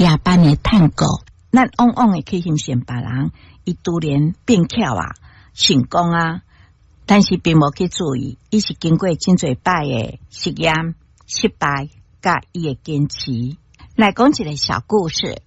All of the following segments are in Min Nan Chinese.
夜班的探戈。咱往往會去欣賞別人，伊突然變巧啊，成功啊，但是並無去注意，伊是經過真濟擺的實驗、失敗，佮伊的堅持。來講一個小故事，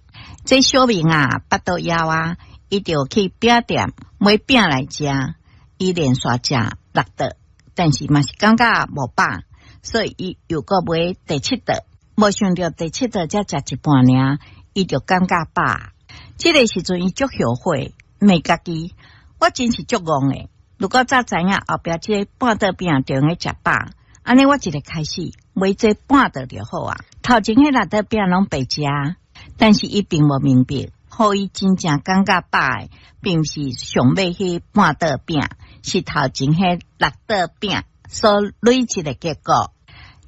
這小明啊，腹肚枵啊，伊就去餅店買餅來食，伊連續食六頓，但是嘛是感覺無飽，所以伊又閣買第七頓，無想著第七頓才食一半爾，伊就感覺飽。這个時陣伊足後悔，罵家己，我真是足戇的。如果早知影後壁這個半桌餅就會食飽，按呢我一个開始買這半桌就好啊。頭前彼六桌餅攏白食，但是伊並無明白，予伊真正感覺飽的，並毋是上尾彼半桌餅，是頭前彼六桌餅所累積的結果。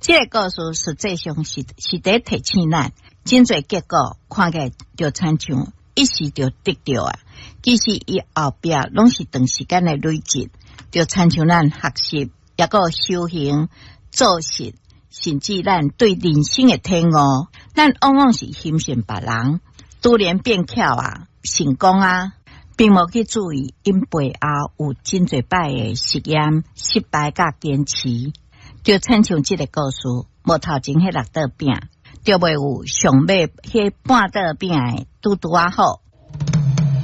這个故事實際上是佇提醒咱，真濟結果看起來就親像一時就得著啊，其實伊後壁攏是長時間的累積，就親像咱學習，抑閣修行、做事，甚至咱對人生的體悟，咱往往是欣賞別人，突然變巧啊，成功啊，並無去注意𪜶背後有真濟擺的實驗、失敗佮堅持，就親像這个故事，無頭前彼六桌餅，就袂有上尾彼半桌餅的拄拄仔好。